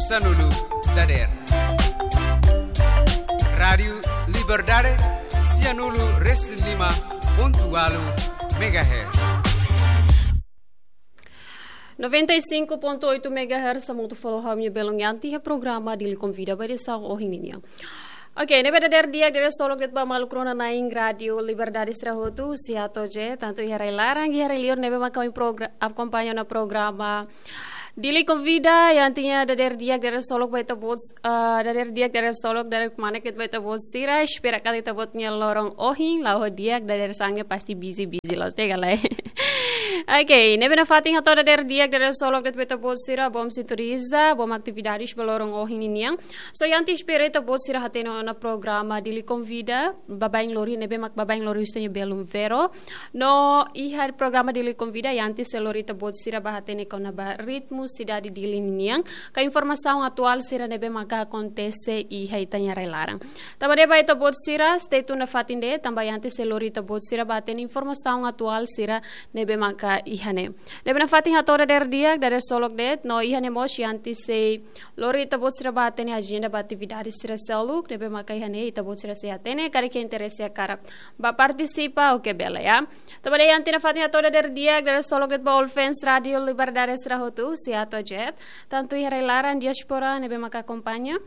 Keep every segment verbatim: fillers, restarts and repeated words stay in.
Sanulu dader. Rádiu Liberdade, sianulu resin lima pontu ualu megahertz. Noventa e cinco ponto oito megahertz, hamutuk fali ho ami belun Yanti iha programa Dili Konvida ba edisaun ohin nian. Oke, ne'ebé dader di'ak, dader solok de'it ba maluk rona-na'in Rádiu Liberdade sira hotu, husi ato je, tantu iha rai-laran, iha rai-liur ne'ebé maka ohin progra-, akompaña ona programa Dili Konvida, Yanti nia dader di'ak, dader solok ba ita-boot, eh, dader di'ak, dader solok, dader kmanek de'it ba ita-boot sira, espera katak ita-boot nia loron ohin, la'o di'ak, dadeer-saan ne'e pasti busy, busy loos, te galai. Oke, ne'ebé nafatin hato'o dader di'ak, dader solok de'it ba ita-boot sira, bom sintoniza, bom atividades ba loron ohin nian. So, Yanti espera ita-boot sira hatene ona programa Dili Konvida, baibain lori, ne'ebé mak baibain lori husi ita-nia belun Vero. No iha programa Dili Konvida, Yanti sei lori ita-boot sira ba hatene kona-ba ritmu sidade Dili nian, ka informasaun atuál sira ne'ebé maka akontese iha ita-nia rai-laran. Tanba ne'e ba ita-boot sira, stay tune nafatin de'it, tanba Yanti sei lori ita-boot sira ba hatene informasaun atuál sira ne'ebé maka iha ne'e. Ne'ebé nafatin hato'o dader di'ak, dader solok de'it, no iha ne'e mós Yanti sei lori ita-boot sira ba hatene ajenda ba atividade sira seluk, ne'ebé maka iha ne'e ita-boot sira sei hatene, karik iha interese hakarak ba partisipa, oke, bele, ya. Tanba ne'e Yanti nafatin hato'o dader di'ak, dader solok de'it ba all fans Rádiu Liberdade sira hotu, husi ato je, tantu iha rai-laran, diáspora, ne'ebé maka akompaña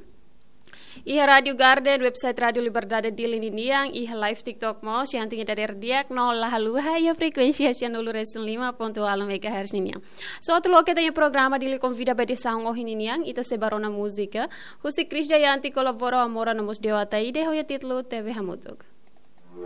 iha Rádiu Garden, website Rádiu Liberdade Dili ninian, iha live TikTok mós, Yanti nia dader di'ak, no la haluha iha frekuénsia sianulu resin lima pontu ualu megahertz ninian. So, atu loke ita-nia programa Dili Konvida ba edisaun ohin nian, ita sei bá rona múzika husi Chris Dayanti, kolabora ho Amora no mós Deo Ataide, ho nia títulu T V Hamutuk.